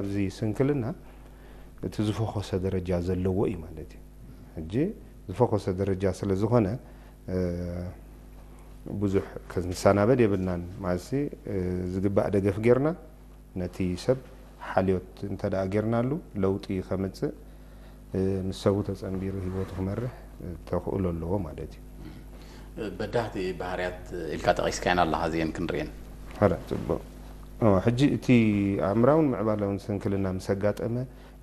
ኣብዚ ስንክልና እቲ ዝፈኾሰ ደረጃ ዘለዎ እዩ ማለት እዩ። ሕጂ ዝፈኾሰ ደረጃ ስለ ዝኾነ፣ እ፣ ብዙሕ ክንሰናበድ የብልናን። ማለትሲ፣ እ፣ ዝግባእ ደገፍ ጌርና ነቲ ሰብ ሓልዮት እንተ ደኣ ጌርናሉ ለውጢ ከምጽእ፣ እ፣ ምስ ሰቡ ተጸንቢሩ ህይወቱ ክመርሕ፣ እ፣ ተኽእሎ ኣለዎ ማለት እዩ። በዳህቲ ባህርያት ኢልካ ጠቒስካየን ኣለኻ፣ እዚአን ክንርእየን። ሕራ፣ ጽቡቕ። ኦ፣ ሕጂ እቲ ኣእምራውን ምዕባለውን ስንክልና ምስ ኣጋጠመ፣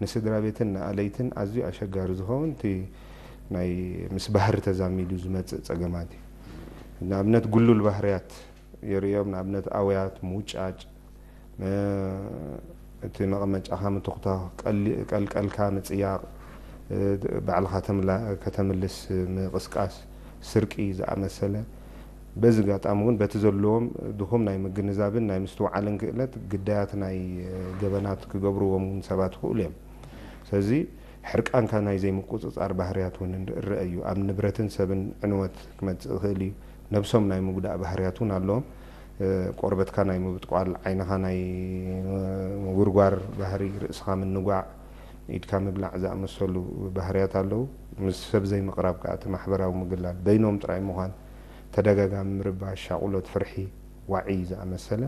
ንስድራ ቤትን ንኣለይትን ኣዝዩ ኣሸጋሪ ዝኸውን እቲ ናይ ምስ ባህሪ ተዛሚዱ ዝመጽእ ጸገማት እዩ። ንኣብነት፣ ግሉል ባህርያት የርእዮም። ንኣብነት፣ ኣውያት፣ ምውጫጭ፣ እ፣ እቲ መቐመጫኻ ምትኹታኽ፣ ቀሊ-፣ ቀልቀልካ ምጽያቕ፣ እ፣ ባዕልኻ ተምላ-፣ ከተምልስ ምቕስቃስ፣ ስርቂ ዝኣመሰለ። በዚ ኣጋጣሚ እውን በቲ ዘለዎም ድኹም ናይ ምግንዛብን ናይ ምስትውዓልን ክእለት ግዳያት ናይ፣ እ፣ ገበናት ክገብርዎም እውን ሰባት ይኽእሉ እዮም። ስለዚ ሕርቃንካ ናይ ዘይምቁጽጻር ባህርያት እውን እንርአ እዩ። ኣብ ንብረትን ሰብን ዕንወት ክመጽእ ይኽእል እዩ። ነብሶም ናይ ምጉዳእ ባህርያት እውን ኣለዎም። እ፣ ቆርበትካ ናይ ምብጥቋል፣ ዓይንኻ ናይ ምጉርጓር ባህሪ፣ ርእስኻ ምንጓዕ፣ ኢድካ ምብላዕ ዝኣመሰሉ ባህርያት ኣለዉ። ምስ ሰብ ዘይምቕራብ ከኣ እቲ ማሕበራዊ ምግላል፣ በይኖም ጥራይ ምዃን፣ ተደጋጋሚ ምርባሽ፣ ሻቑሎት፣ ፍርሒ፣ ዋዒ ዝኣመሰለ፣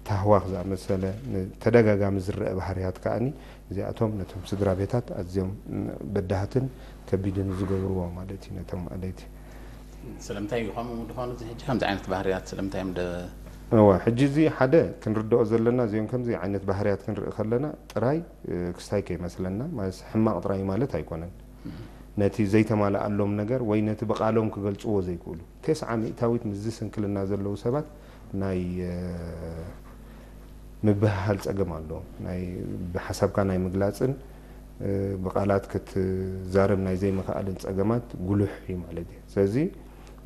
ታህዋኽ ዝኣመሰለ፣ ን-፣ ተደጋጋሚ ዝረአ ባህርያት ከኣኒ፣ እዚኣቶም ነቶም ስድራ ቤታት ኣዝዮም በዳህትን ከቢድን ዝገብርዎ ማለት እዩ፣ ነቶም ኣለይቲ። ስለምንታይ እዩ ከምኡ ዝኾኑ? እዚ ሕጂ ከምዚ ዓይነት ባህርያት ስለምንታይ እዮም ደ- እወ፣ ሕጂ እዚ ሓደ ክንርድኦ ዘለና፣ እዚኦም ከምዚ ዓይነት ባህርያት ክንርኢ ከለና ጥራይ፣ እ፣ ክስታይ ከይመስለና፣ ማለት ሕማቕ ጥራይ ማለት ኣይኮነን። ነቲ ዘይተማልኣሎም ነገር ወይ ነቲ ብቓሎም ክገልጽዎ ዘይክእሉ፣ ተስዓ ሚእታዊት ምስዚ ስንክልና ዘለዉ ሰባት ናይ፣ እ፣ ምብህሃል ጸገም ኣለዎም። ናይ ብሓሳብካ ናይ ምግላጽን፣ እ፣ ብቓላት ክትዛረብ ናይ ዘይምኽኣልን ጸገማት ጉሉሕ እዩ ማለት እዩ። ስለዚ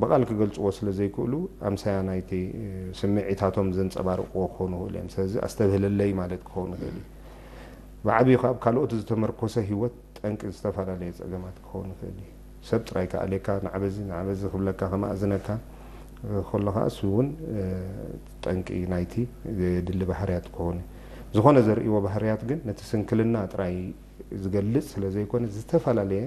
ብቓል ክገልጽዎ ስለ ዘይክእሉ፣ ኣምሳያ ናይቲ፣ እ፣ ስምዒታቶም ዘንጸባርቕዎ ክኾኑ ይኽእሉ እዮም። ስለዚ ኣስተብህለለይ ማለት ክኸውን ይኽእል እዩ። ብዓብዩ ካብ ካልኦት ዝተመርኮሰ ህይወት ጠንቂ ዝተፈላለየ ጸገማት ክኸውን ይኽእል እዩ። ሰብ ጥራይ ክኣልየካ፣ ንዓበዚ፣ ንዓበዚ ክብለካ፣ ከማእዝነካ፣ እ፣ ከሎ ከኣ እሱ እውን፣ እ፣ ጠንቂ ናይቲ ዘየድሊ ባህርያት ክኸውን እዩ። ዝኾነ ዘርእይዎ ባህርያት ግን ነቲ ስንክልና ጥራይ ዝገልጽ ስለ ዘይኮነ፣ ዝተፈላለየ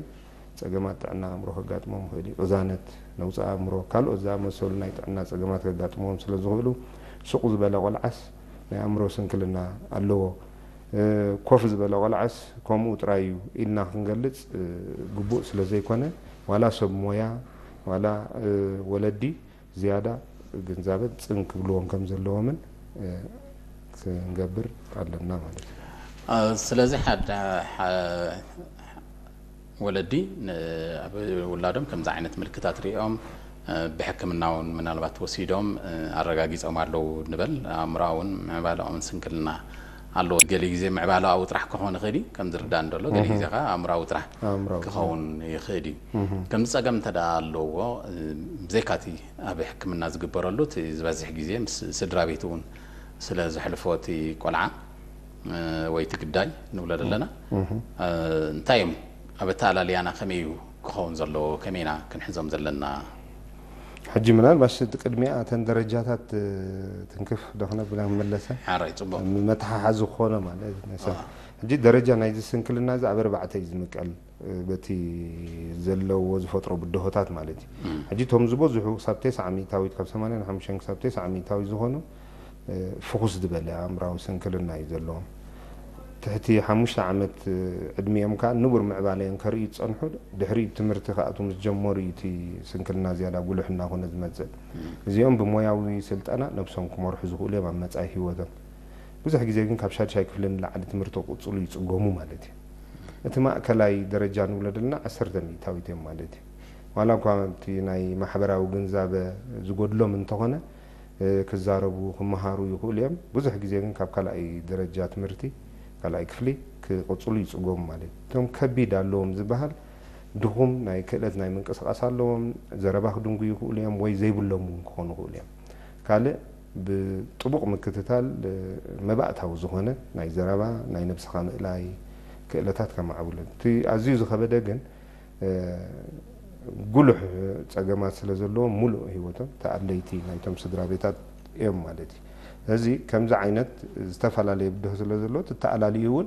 ጸገማት ጥዕና ኣእምሮ ከጋጥሞም ይኽእል እዩ። ቅዛነት፣ ነውጺ ኣእምሮ፣ ካልኦት ዝኣመሰሉ ናይ ጥዕና ጸገማት ከጋጥምዎም ስለ ዝኽእሉ፣ ሱቕ ዝበለ ቆልዓስ ናይ ኣእምሮ ስንክልና ኣለዎ። እ፣ ኮፍ ዝበለ ቆልዓስ ከምኡ ጥራይ እዩ ኢልና ክንገልጽ፣ እ፣ ግቡእ ስለ ዘይኮነ፣ ዋላ ሰብ ሞያ፣ ዋላ፣ እ፣ ወለዲ ዝያዳ ግንዛበ ጽን ክብልዎም ከም ዘለዎምን፣ እ፣ ክንገብር ኣለና ማለት እዩ። እ፣ ስለዚ ሓደ፣ ሓ-፣ ወለዲ ን-፣ ኣብ ውላዶም ከምዚ ዓይነት ምልክታት ሪኦም፣ እ፣ ብሕክምና እውን ምናልባት ወሲዶም፣ እ፣ ኣረጋጊጾም ኣለዉ ንበል። ኣእምሮኣውን ምዕባለኣውን ስንክልና ኣለዎ። ገለ ግዜ ምዕባለኣዊ ጥራሕ ክኸውን ይኽእል እዩ፣ ከም ዝርዳእ እንተሎ፣ ገለ ግዜ ከዓ ኣእምሮኣዊ ጥራሕ ኣእምሮኣዊ። ክኸውን ይኽእል እዩ። ከምዚ ጸገም እንተ ደኣ ኣለዎ፣ እ፣ ብዘይካቲ ኣብ ሕክምና ዝግበረሉ፣ እቲ ዝበዝሕ ግዜ ምስ ስድራ ቤት እውን ስለ ዘሕልፎ እቲ ቆልዓ፣ እ፣ ወይ እቲ ግዳይ ንብሎ ዘለና፣ እ፣ እንታይ እዮም ኣብ ኣተኣላልያና ከመይ እዩ ክኸውን ዘለዎ? ከመይ ኢና ክንሕዞም ዘለና? ሕጂ ምናልባሽ እቲ ቅድሚኣ እተን ደረጃታት፣ እ፣ ትንክፍ ዶ ክነብላ ንመለሰ? ሓራይ፣ ጽቡቕ። መተሓሓዚ ክኾኖ ማለት ነሰ-፣ ኣዎ። ሕጂ ደረጃ ናይዚ ስንክልና እዚ ኣብ ኣርባዕተ እዩ ዝምቀል፣ እ፣ በቲ ዘለዎ ዝፈጥሮ ብድሆታት ማለት እዩ። እም። ሕጂ እቶም ዝበዝሑ ክሳብ ተስዓ ሚእታዊት፣ ካብ ሰማንያን ሓሙሽተን ክሳብ ተስዓ ሚእታዊት ዝኾኑ፣ እ፣ ፍኹስ ዝበለ ኣእምራዊ ስንክልና እዩ ዘለዎም። ትሕቲ ሓሙሽተ ዓመት፣ እ፣ ዕድሚኦም ከኣ ንቡር ምዕባለ እዮም ከርእዩ ዝጸንሑ። ድሕሪኡ ትምህርቲ ክኣትዉ ምስ ጀመሩ እዩ እቲ ስንክልና ዝያዳ ጉሉሕ እናኾነ ዝመጽእ። እም። እዚኦም ብሞያዊ ስልጠና ነብሶም ክመርሑ ዝኽእሉ እዮም ኣብ መጻኢ ህይወቶም። ብዙሕ ግዜ ግን ካብ ሻድሻይ ክፍሊ ንላዕሊ ትምህርቲ ክቕጽሉ ይጽገሙ ማለት እዩ። እቲ ማእከላይ ደረጃ ንብሎ ዘለና ዓሰርተ ሚእታዊት እዮም ማለት እዩ። ዋላ እኳ እቲ ናይ ማሕበራዊ ግንዛበ ዝጎድሎም እንተኾነ፣ እ፣ ክዛረቡ፣ ክመሃሩ ይኽእሉ እዮም። ብዙሕ ግዜ ግን ካብ ካልኣይ ደረጃ ትምህርቲ፣ ካልኣይ ክፍሊ ክቕጽሉ ይጽገሙ ማለት እዩ። እቶም ከቢድ ኣለዎም ዝበሃል ድኹም ናይ ክእለት ናይ ምንቅስቓስ ኣለዎም፣ ዘረባ ክድንጉዩ ይኽእሉ እዮም ወይ ዘይብሎም እውን ክኾኑ ይኽእሉ እዮም። ካልእ ብጥቡቕ ምክትታል፣ እ፣ መባእታዊ ዝኾነ ናይ ዘረባ፣ ናይ ነብስኻ ምእላይ ክእለታት ከማዕብሉ። እቲ ኣዝዩ ዝኸበደ ግን፣ እ፣ ጉሉሕ ጸገማት ስለ ዘለዎ፣ ሙሉእ ህይወቶም ተኣለይቲ ናይቶም ስድራ ቤታት እዮም ማለት እዩ። ስለዚ ከምዚ ዓይነት ዝተፈላለየ ብድሆ ስለ ዘለዎ፣ እቲ ተኣላልዩ እውን